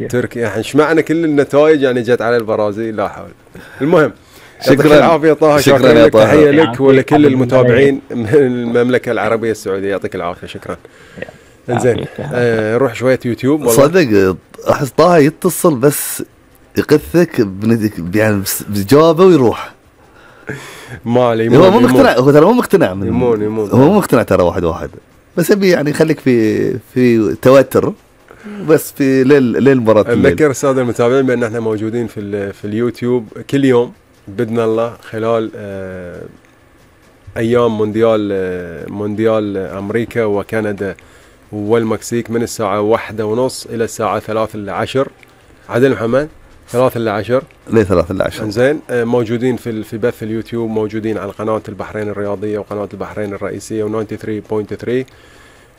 تركيا يعني ايش معنى كل النتائج يعني جت على البرازيل؟ لا حول. المهم شكرا العافيه طه، شكرا لك، تحيه لك ولكل المتابعين من المملكه العربيه السعوديه، يعطيك العافيه. شكرا. انزين روح شويه يوتيوب. والله صدق احس طه يتصل بس يقثك يعني بجوابه ويروح. مالي هو مو مقتنع، هو ترى مو مقتنع يمون هو مو مقتنع ترى واحد بس يبي يعني خليك في توتر بس في ليل مرات. نذكر الساده المتابعين بان احنا موجودين في اليوتيوب كل يوم باذن الله خلال ايام مونديال امريكا وكندا والمكسيك من الساعه 1:30 الى الساعه 3:10. عدل محمد 3:10 ليه 3:10؟ زين موجودين في بث اليوتيوب، موجودين على قناه البحرين الرياضيه وقناه البحرين الرئيسيه و93.3.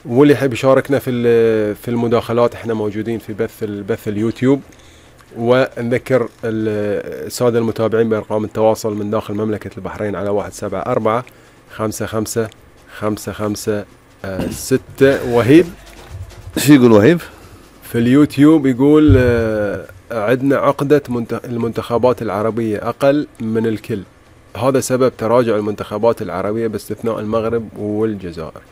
واللي يحب يشاركنا في المداخلات احنا موجودين في بث اليوتيوب. ونذكر الساده المتابعين بارقام التواصل من داخل مملكه البحرين على 174 55 55 6. وهيب شو يقول وهيب في اليوتيوب؟ يقول عندنا عقدة المنتخبات العربية أقل من الكل، هذا سبب تراجع المنتخبات العربية باستثناء المغرب والجزائر.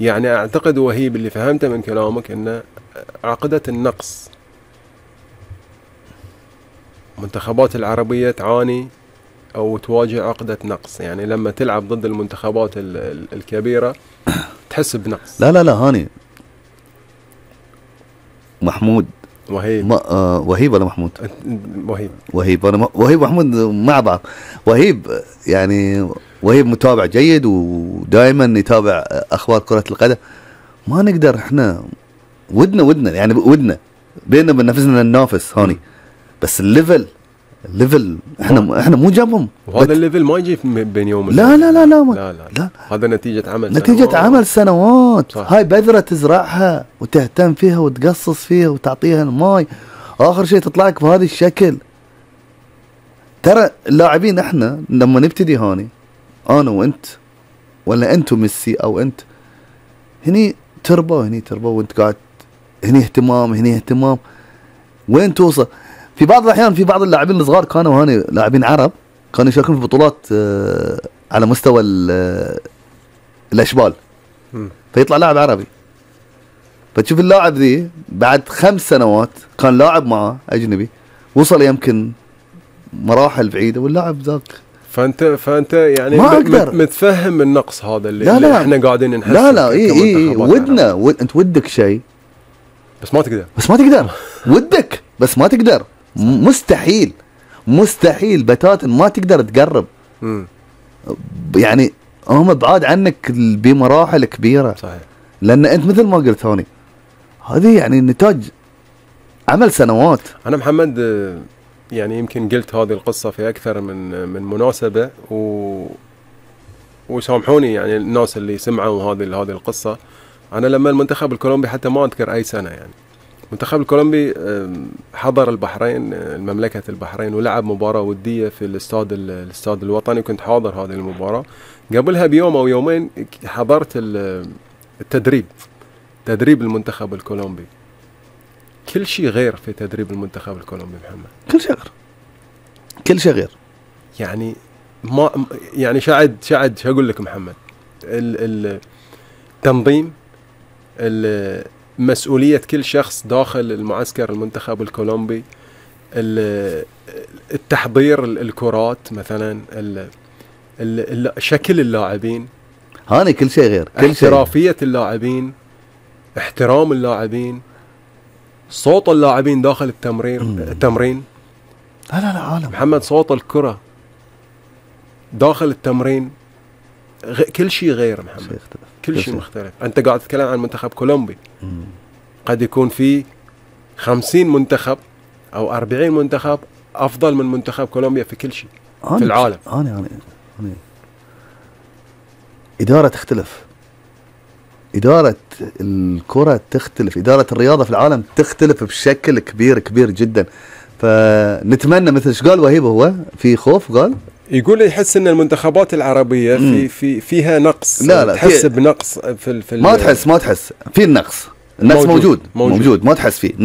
يعني أعتقد وهيب اللي فهمته من كلامك أن عقدة النقص، منتخبات العربية تعاني أو تواجه عقدة نقص، يعني لما تلعب ضد المنتخبات الكبيرة تحس بنقص. لا هاني محمود وهيب وهيب ولا محمود؟ وهيب أنا وهيب ومحمود مع بعض. وهيب يعني وهيب متابع جيد ودائما يتابع أخبار كرة القدم. ما نقدر احنا ودنا يعني ودنا بيننا وبين نفسنا ننافس هاني، بس الليفل احنا مو جابهم. وهذا الليفل ما يجي بين يوم لا لا لا لا, لا, لا, لا. هذا نتيجة عمل سنوات. صح. هاي بذرة تزرعها وتهتم فيها وتقصص فيها وتعطيها الماي، آخر شيء تطلع لك بهذا الشكل. ترى اللاعبين احنا لما نبتدي هاني انا وانت ولا انت وميسي او انت، هني تربة وانت قاعد هني اهتمام وين توصل. في بعض الأحيان في بعض اللاعبين الصغار كانوا هاني لاعبين عرب كانوا يشاركون في بطولات على مستوى الأشبال، فيطلع لاعب عربي، فتشوف اللاعب ذي بعد 5 سنوات كان لاعب معه أجنبي وصل يمكن مراحل بعيدة واللاعب ذاك. فأنت يعني متفهم النقص هذا اللي احنا قاعدين نحس. لا ودنا انت ودك شيء بس ما تقدر ودك بس ما تقدر. مستحيل بتاتا ما تقدر تقرب. يعني هم بعاد عنك بمراحل كبيرة. صحيح. لأن أنت مثل ما قلت هوني هذه يعني نتاج عمل سنوات. أنا محمد يعني يمكن قلت هذه القصة في أكثر من مناسبة وسامحوني يعني الناس اللي سمعوا هذه القصة. أنا لما المنتخب الكولومبي حتى ما أذكر أي سنة، يعني المنتخب الكولومبي حضر البحرين مملكة البحرين ولعب مباراة ودية في الاستاد الوطني، وكنت حاضر هذه المباراة. قبلها بيوم أو يومين حضرت تدريب المنتخب الكولومبي. كل شيء غير في تدريب المنتخب الكولومبي محمد، كل شيء غير. يعني ما يعني شو أقول لك محمد، التنظيم، مسؤولية كل شخص داخل المعسكر المنتخب الكولومبي، التحضير الكرات مثلا، شكل اللاعبين، هاني كل شيء غير. احترافية اللاعبين، احترام اللاعبين، صوت اللاعبين داخل التمرين. لا عالم محمد، صوت الكرة داخل التمرين كل شيء غير محمد، كل شيء مختلف. أنت قاعد تتكلم عن منتخب كولومبي، قد يكون في 50 منتخب أو 40 منتخب أفضل من منتخب كولومبيا في كل شيء في العالم. إدارة تختلف، إدارة الكرة تختلف، إدارة الرياضة في العالم تختلف بشكل كبير جدا. فنتمنى مثل ايش قال وهيب، هو في خوف قال يقول يحس ان المنتخبات العربيه فيها نقص. لا تحس بنقص في ما تحس في النقص موجود ما تحس فيه.